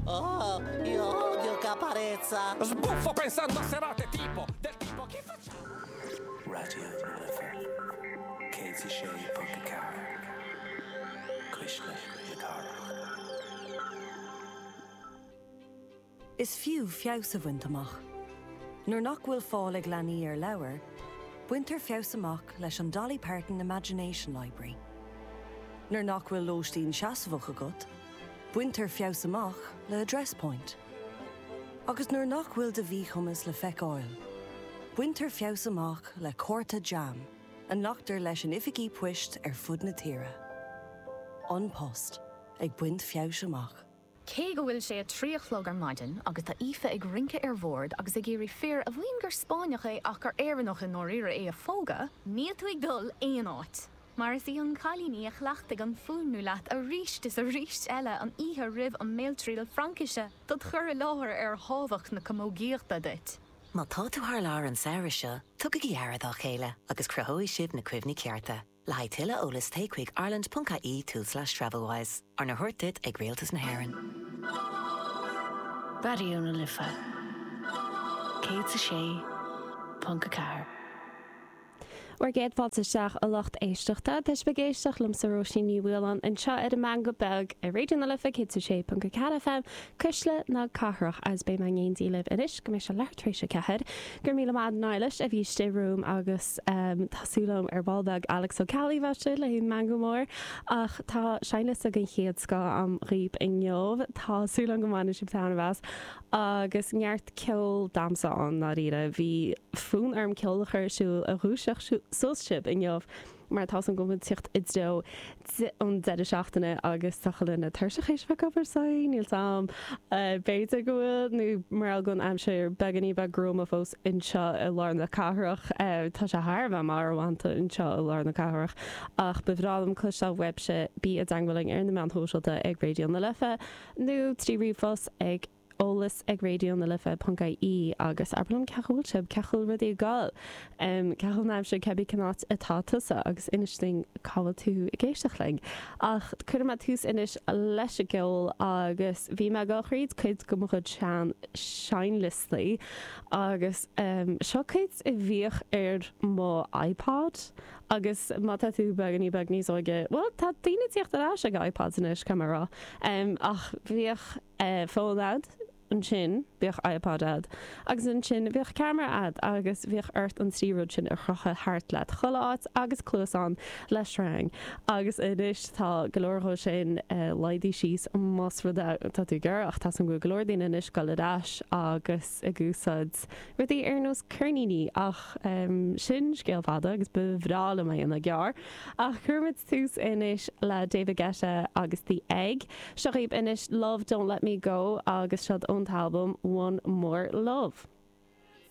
Oh, io odio Caparezza. Sbuffo pensando a serate tipo del tipo che facciamo? Raidió na Life 106.4 Cuisle na Cathrach. Is fiú feabhas a bhaint amach. Nuair nach bhfuil fáil ag leanaí ar leabhair, baintear feabhas amach leis an Dolly Parton Imagination Library. Nuair nach bhfuil lóistín seasmhach agat, baintear feabhas amach le Address Point. Agus nuair nach bhfuil do mhíchumas le feiceáil, baintear feabhas amach le cárta JAM a nglactar leis in oifigí poist ar fud na tíre. An Post, ag baint feabhais amach. Cé go bhfuil sé a 3 a chlog ar maidin agus tá Aoife ag rince ar bhord agus ag iarraidh fear a mhaíonn gur Spáinneach é ach gur Éireannach i ndáiríre é a phógadh, níl tú ag dul aon áit, mar is í an cailín í a chleachtaigh an fuaimniú leat arís is arís eile an oíche roimh an mbéaltriail Fraincise dod chur i láthair ar thábhacht na camógaíochta duit. Má tá tú thar lear an samhradh seo, tugaigí aire dá chéile agus cruthóidh sibh na cuimhní cearta. Le haghaidh tuilleadh eolais téigh chuig ireland ponc ie tulslais travelwise, arna thabhairt duit ag Rialtas na hÉireann. Raidió na Life 106.4. Bhur gcéad fáilte isteach a lucht éisteachta. Tá sibh ag éisteacht liomsa Róisín Ní Mhaoláin anseo ar an Meangadh Beag ar Raidió na Life 106.4 FM, Cuisle na Cathrach agus beidh mé in éindí libh anois go mbeidh sé leathuair tar éis a 4. Go raibh míle maith a'd Niallais a bhí istigh romham agus tá súil agam ar ball beag Alex Ó Ceallaigh a bheith istigh le haghaidh meangadh mór ach tá seinnliosta den chéad scoth a'm dhaoib inniu. Tá súil agam go mbainfidh sibh taitneamh as agus neart ceoil damhsa ann ndáiríre. Bhí fonn orm ceol a chur ar siúl a dhúiseodh suas sibh inniu. mar tá 's a'm go bhfuil tíocht i dtreo an deireadh seachtaine agus tá chuile dhuine tuirseach théis bheith ag obair so níl 's a'm b'fhéidir go bhfuil nó mar gheall go bhfuil an aimsir beagáinín beag gruama fós anseo i lár na cathrach tá sé thar a bheith marbhánta anseo i lár na cathrach ach ba bhreá liom cloisteáil uaibhse bí i dteangmháil linn ar na meáin shóisialta ag Raidió na Life nó trí ríomhphost ag eolas ag raidió na life ponc ie agus abair liom cén chaoi a bhfuil sibh, cén chaoi a bhfuil rudaí ag dul, cén chaoi a bhfuil an aimsir, cébí cén áit atá tusa agus inis dúinn cá bhfuil tú ag éisteacht linn. Ach cuirfidh mé tús anois leis an gceol agus bhí mé ag dul thríd cuid de mo chuid sean seinnliostaí agus seo cuid a bhíodh ar mo iPod agus má tá tú beagáinín beag níos óige, bhuel tá daoine ag tíocht ar ais ag iPods anois, caithfidh mé a rá, ach bhíodh. fón a'd, ansin bhíodh iPod a'd, agus ansin bhíodh ceamara a'd agus bhíodh ort an trí rud sin a chrochadh thart leat chuile áit agus cluasán le sreang agus anois tá go leor dhó sin laghdaithe síos más rud é tá tú ag iarraidh ach tá 's a'm go bhfuil go leor daoine anois ag dul ar ais agus ag úsáid rudaí ar nós ceirníní ach sin scéal fada agus ba bhreá liom é a dhéanamh gearr ach cuirfimid tús anois le David Guetta agus The Egg. Seo dhaoibh anois Love Don't Let Me Go agus seod ón t-albam One More Love.